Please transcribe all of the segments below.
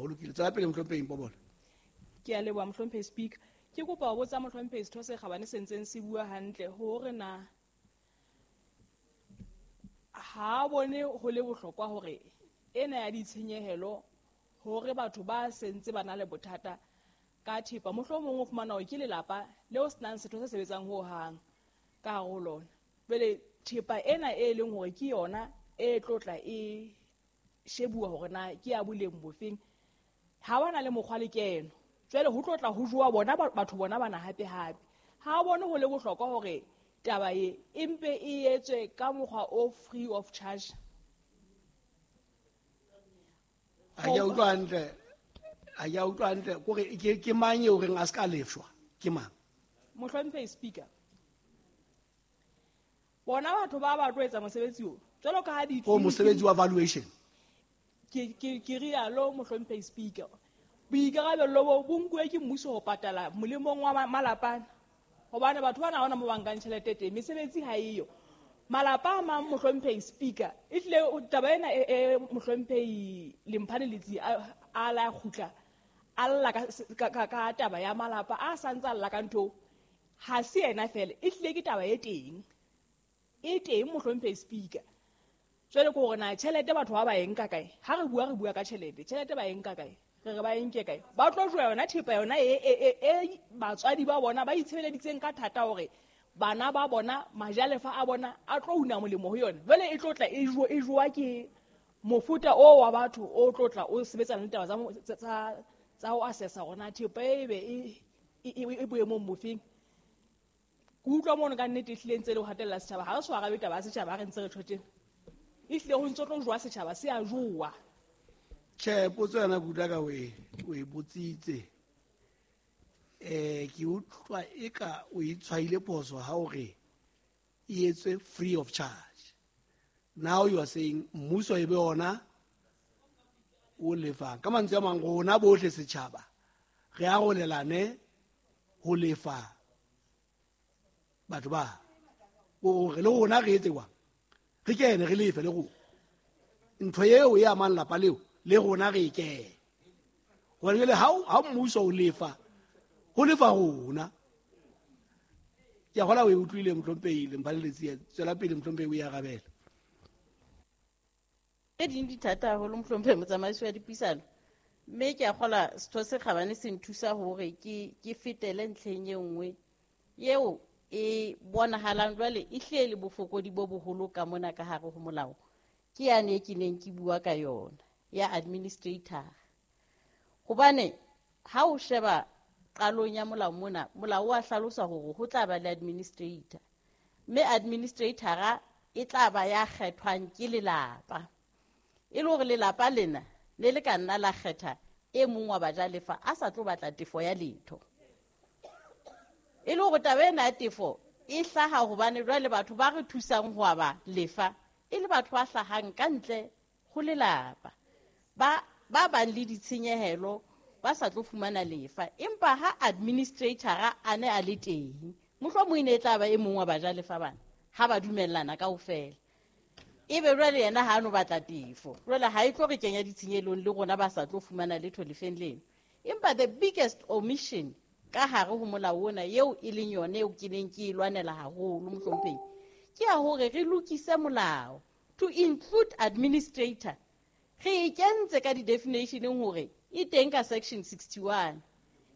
Ho lokile. Tswela pele, mohlomphehi Mpobola. Ke a leboha, mohlomphehi Speaker. Ke kopa ho botsa mohlomphehi setho se kgabane se ntseng se bua hantle hore na ha bone ho le bohlokwa hore ena ya ditshenyehelo hore batho ba sentse ba na le bothata ka thepa, mohlomong o fumana hore ke lelapa leo senang setho se sebetsang ho hang ka hare ho lona. Jwale thepa ena e leng hore ke yona e tlotla e shebuwa hore na ke ya boleng bofeng, ha ba na le mokgwa le keno. Jwale ho tlotla ho jowa bona batho bona bana hape hape. Ha bone ho le bohlokwa hore taba e empe e etswe ka mokgwa o free of charge. Ha ke a utlwa hantle. Ha ke a utlwa hantle. Kore ke mang eo reng a se ka lefshwa? Ke mang? Mohlomphehi Speaker, bona batho ba ba tlo etsa mosebetsi o jwalo ka ha di O mosebetsi wa valuation. Ke rialo, mohlomphehi Speaker. Boikarabello bo nkuwe ke mmuso ho patala molemong wa malapa, hobane batho bana ha hona mo ba nkang tjhelete teng, mesebetsi ha eyo. Malapa a mang, mohlomphehi Speaker, e hlile taba ena e mohlomphehi Lemphane Letsie a la kgutla a lla ka taba ya malapa a santse a lla ka ntho. Ha se yena fela, e hlile ke taba e teng, e teng, mohlomphehi Speaker. Jwale ke hore na tjhelete batho ba e nka kae? Ha re bua, re bua ka tjhelete. Tjhelete ba e nka kae? Re ba e nke kae? Ba tlo jowa yona thepa yona e batswadi ba bona ba itshebeleditseng ka thata hore bana ba bona, majalefa a bona a tlo una molemo ho yona. Jwale e tlo tla e jowa ke mofuta o wa batho o tlo tla o sebetsana le taba tsa ho assessa hore na thepa e be e boemong bofeng. Ke utlwa mono ka nnete ehlile ntse le ho hatella setjhaba. Ha re so arabe taba ya setjhaba, ha re ntse re tjho tjena. Ehlile ho ntso tlo jowa setjhaba, se a jowa. Tjhe, potso yona ke utlwa ka o e botsitse. Ke utlwa eka o e tshwaile phoso ha o re e etswe free of charge. Now you are saying mmuso e be ona o lefang. Ka mantswe a mang, rona bohle setjhaba re arolelane ho lefa batho ba. O re le rona re etse jwang? Re kene re lefe le rona. Ntho eo e amang lapa leo le rona re e kene. Hobane jwale ha mmuso o lefa, ho lefa rona. Ke a kgolwa o e utlwile, mohlomphehi Lemphane Letsie. Tswela pele, mohlomphehi, o e arabele. Tse ding di thata haholo, mohlomphehi motsamaisi wa dipuisano, mme ke a kgolwa setho se kgabane se nthusa hore ke fetele ntlheng e nngwe eo e bonahalang jwale e hlile le bofokodi bo boholo ka mona ka hare ho molao. Ke yane e ke neng ke bua ka yona ya administrator. Hobane ha o sheba qalong ya molao mona, molao wa hlalosa hore ho tla ba le administrator, mme administrator e tla ba ya kgethwang ke lelapa. E le hore lelapa lena le le ka nna la kgetha e mong wa bajalefa a sa tlo batla tefo ya letho. E le hore taba ena ya tefo e hlaha hobane jwale batho ba re thusang ho aba lefa e le batho ba hlahang ka ntle ho lelapa, ba bang le ditshenyehelo, ba sa tlo fumana lefa. Empa ha administrator a ne a le teng, mohlomong e ne e tla ba e mong wa bajalefa bana ha ba dumellana kaofela, ebe jwale yena ha a no batla tefo, jwale ha e tlo re kenya ditshenyelong le rona ba sa tlo fumana letho lefeng leno. Empa the biggest omission ka hare ho molao ona eo e leng yone eo ke neng ke e lwanela haholo, mohlomphehi, ke ya hore re lokise molao to include administrator. Re e kentse ka di-definitioneng hore e teng ka section 61,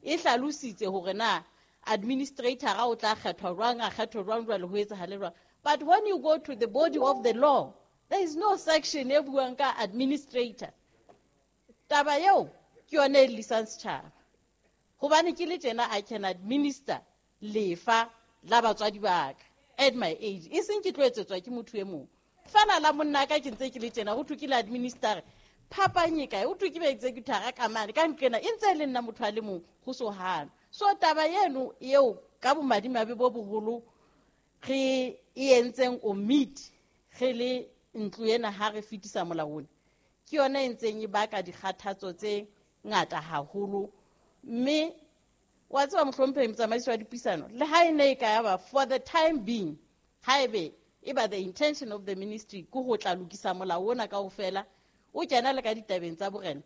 e hlalositse hore na administrator o tla kgethwa jwang, a kgethwe jwang, jwale ho etsahale jwang. But when you go to the body of the law, there is no section e buang ka administrator. Taba eo ke yone e llisang setjhaba, hobane ke le tjena I can administer lefa la batswadi ba ka at my age, e seng ke tlo etsetswa ke motho e mong. Fela la monna ka ke ntse ke le tjena, ho thwe ke le administer, phapang e kae? Ho thwe ke ba executor ka mane ka nqena, e ntse e le nna motho a le mong ho so hana. So taba eno eo ka bomadimabe bo boholo re e entseng omit re le ntlo ena ha re fetisa molao ona, ke yona e ntseng e baka dikgathatso tse ngata haholo. Mme wa tseba, mohlomphehi motsamaisi wa dipuisano, le ha e ne e ka ya ba for the time being, haebe e ba the intention of the ministry ke ho tla lokisa molao ona kaofela, o kena le ka ditabeng tsa borena,